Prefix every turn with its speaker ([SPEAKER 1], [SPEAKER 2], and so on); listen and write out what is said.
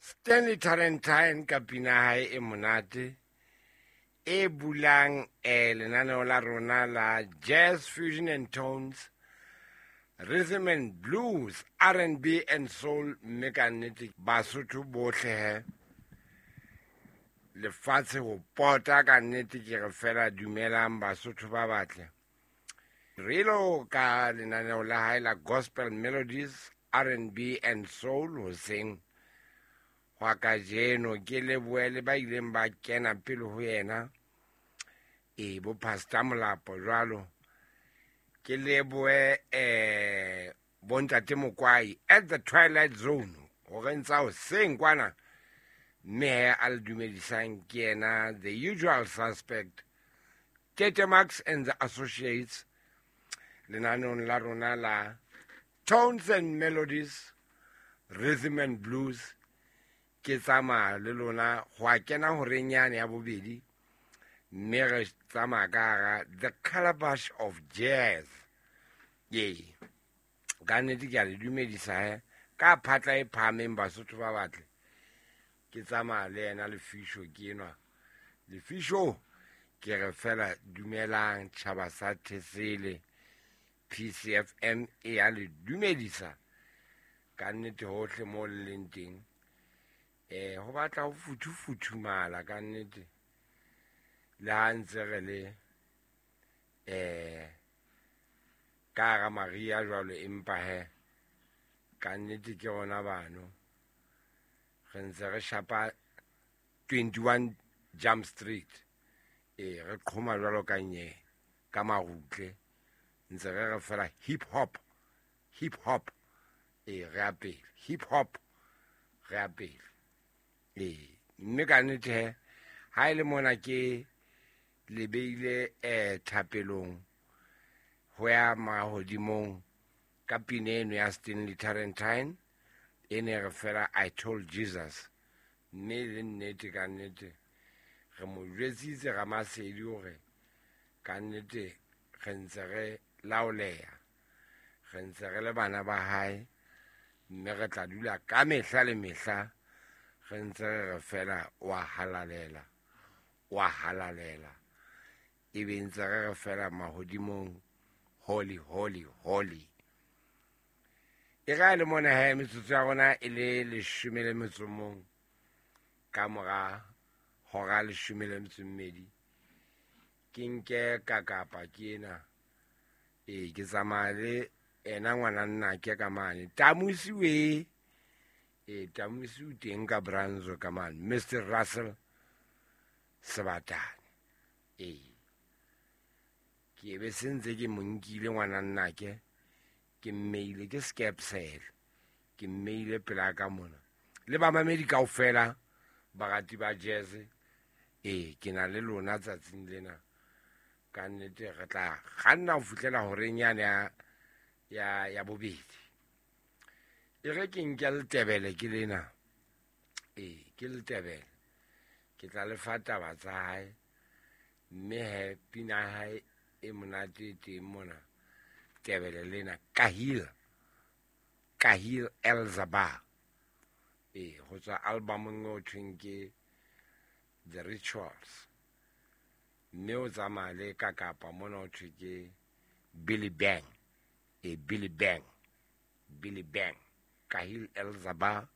[SPEAKER 1] Stanley Tarentine ka pina hae e monate e bulang lenaneo la rona la Jazz Fusion and Tones, Rhythm and Blues, R&B and Soul, mme ka nnete Basotho bohle he lefatshe ho pota ka nnete ke re fela dumelang Basotho ba batle. Relo ka lenaneo la hae la Gospel Melodies, R&B and Soul hoseng hwa kajeno ke lebohe le ba ileng ba kena pele ho yena e bo Pastor Molapo jwalo ke lebohe bontate Mokwai at the Twilight Zone hore ntsa hoseng kwana mme he a le dumedisang ke yena the usual suspect Tete Max and the Associates lenaneong la rona la Tones and Melodies, Rhythm and Blues. Ke tsamaya le lona ho a kena horeng yane ya bobedi mme re tsamaya ka hara the calabash of jazz. Ee, ka nnete ke a le dumedisa he ka phatla e phahameng Basotho ba batle. Ke tsamaya le yena Lefisho ke enwa. Lefisho ke re fela dumelang tjhaba sa Thesele. PCFM e ya le dumedisa ka nnete hohle mo le leng teng. Ho batla ho futhufuthumala ka nnete le ha ntse re le ka hara mariha jwalo, empa he ka nnete ke rona bano re ntse re shapa 21 Jump Street. Re qhoma jwalo ka nye ka marutle ntse re re fela hip hop, hip hop. Re a pele hip hop, re a pele. Mme ka nnete he ha e le mona ke le beile thapelong ho ya mahodimong ka pina eno ya Stanley Tarentine e ne re fela I told Jesus. Mme le nnete ka nnete re mo jwetsitse Ramasedi hore ka nnete re ntse re laoleha, re ntse re le bana ba hae, mme re tla dula ka mehla le mehla re ntse re re fela wa halalela, wa halalela. Ebe ntse re re fela mahodimong holy, holy, holy. E ra le mona he metsotso ya rona e le leshome le metso mong ka mora hora leshome le metso mmedi. Ke nke ka kapa ke ena. Ke tsamaya le ena ngwana nna ke ka mane. Tamusi we. Tamusi o teng ka Branzo ka mane. Mr. Russell Sebatane. Ke be se ntse ke mo nkile ngwana nna ke. Ke mmeile ke skepsel. Ke mmeile pela ka mona. Le bamamedi kaofela barati ba jazz. Ke na le lona tsatsing lena. Ka nnete re tla kganna ho fihlela horeng yane ya bobedi. E re ke nke letebele ke lena. Ke letebele. Ke tla le fa taba tsa hae. Mme he pina ya hae e monate e teng mona. Tebele lena Kahil. Kahil Elzaba. Ho tswa albumong e ho thweng ke The Rituals. Mme o tsamaya le ka kapa mona ho thwe ke Billy Bang. Billy Bang. Billy Bang. Kahil Elzaba.